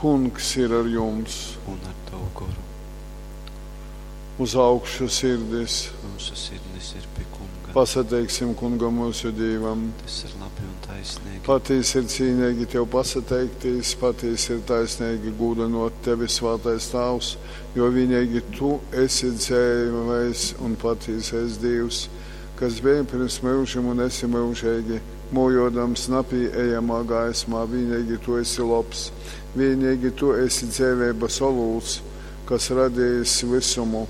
Kungs ir ar jums! Un ar tavu goru. Uz augšu sirdis! Myusu sirdis ir pi Kunga. Pasateiksim Kungam myusu Dīvam! Tas ir labi un taisnīgi. Patīsi ir cīneigi Tev pasateiktīs, patīsi ir taisneigi gūdynōt Tevi, Svātais Tāvs, jo vīneigi Tu esi dzeivais un patīsais Dīvs, kas beji pyrms myužim un esi myužeigi, mōjōdams napīejamā gaismā, vīneigi Tu esi lobs. Vīneigi Tu esi dzeiveibas olūts, kas radejis vysumu,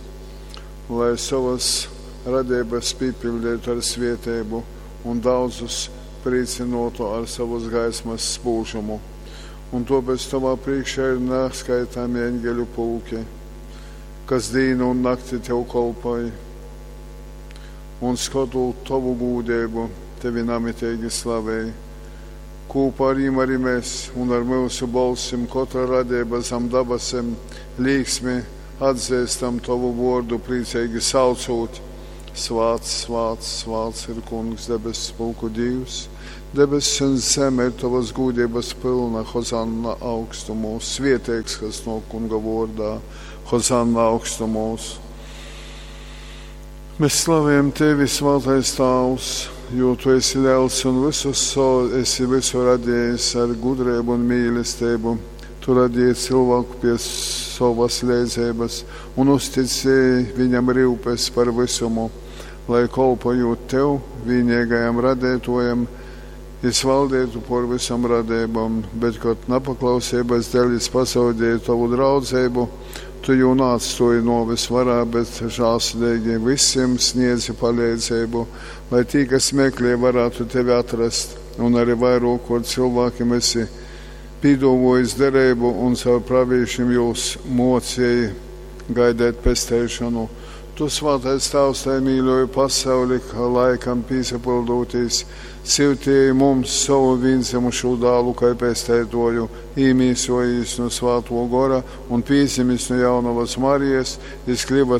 lai sovas radeibas pīpiļdeitu ar svieteibu un daudzus prīcynōtu ar sovas gaismas spūžumu. Un tōpēc Tovā prīškā ir naskaitami eņgeļu pulki, kas dīnu un nakti Tev kolpoj, un skotūt Tovu gūdeibu, Tevi namiteigi slavej. Kūpā ar jim arī mēs un ar myusu bolsim kotra radeiba zam dabasim līksmi atzīstam Tovu vōrdu, prīceigi saucūt: Svāts, svāts, svāts ir Kungs, debesu pulku Dīvs. Debesis un zeme ir Tovas gūdeibas pylna, Hozanna augstumūs, svieteigs, kas nōk Kunga vōrdā, Hozanna augstumūs. Mēs slavējam Tevi, Svātais Tāvs, jo Tu esi liels un visu so, esi visu radījis ar gudrību un mīlestību. Tu radīji cilvēku pie savas leidzeibas un uzticēji viņam rūpes par visumu, lai kolpojot Tev, vienīgajam radētojam, jis valdītu por visam radībām, bet, kad nepaklausības dēļ jis pazaudēja Tavu draudzību, Tu jū neatstāji nuoves varā, bet žēlsirdīgi visiem sniedzi palīdzību, lai tī, kas meklē, varētu tevi atrast, un arī vairākot cilvēkiem esi pīdovojis derību un caur pravīšiem jūs mocēji gaidēt pesteišanu. Tu, Svātais Tāvs, tai mīļoji pasauli, ka laikam pīsapildūtīs, syutīji mums savu vīnzemušū dālu, kai pesteitoju, īmīsojīs no Svāto gora un pīzimis no jaunavas Marijas, jis kļuva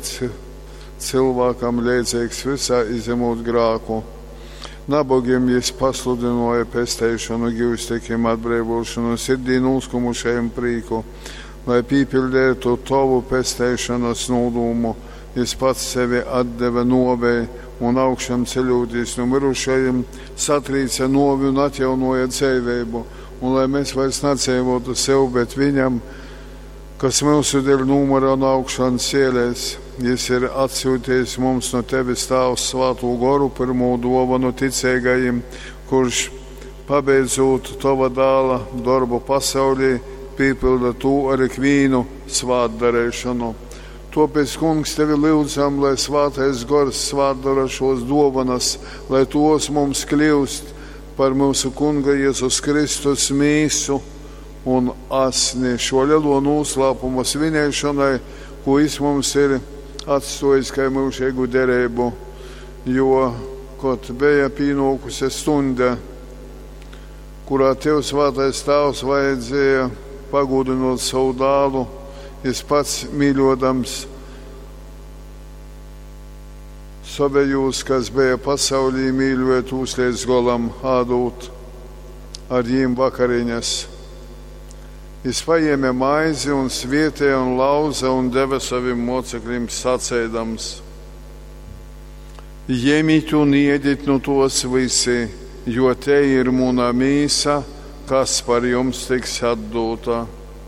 cilvēkam leidzīgs visā, izņemot grāku. Nabogiem jis pasludināja pesteišanu, givstekiem atbrīvošanu, sirdī noskumušajiem prīku, lai pīpildētu tavu pesteišanas nodūmu. Jis pats sevi atdeva novei un augšām ceļoties no mirušajiem, satrīca novi un atjaunoja dzīvību, un lai mēs vairs nedzīvotu sev, bet viņam, kas mūsu dēļ numura un augšām cielēs, jis ir atsūtījis mums no tevis Tāvs Svāto Goru pirmo dovanu ticīgajiem, kurš, pabeidzot tava dāla darbu pasaulī, pīpilda to ar ikvīnu svātdarīšanu. Tāpēc, Kungs, tevi lūdzam, lai Svātais Gors svātdara šos dovanas, lai tos mums kļūst par mūsu Kunga Jēzus Kristus mīsu un asni šo lielo noslēpumu svinēšanai, ko jis mums ir atstājis kā mūžīgu derību, jo, kad bija pienākusi stunda, kurā tev, Svētais Tēvs, vajadzēja pagodinot savu dālu, jis pats mīļodams savējos, kas bija pasaulī, mīļoja tūs līdz golam, ādūt ar jīm vakariņas. Jis paņēma maizi un svietēja un lauza un deva saviem mocekļiem sacēdams: Ņemiet un iediet no tos visi, jo te ir muna mīsa, kas par jums tiks atdota.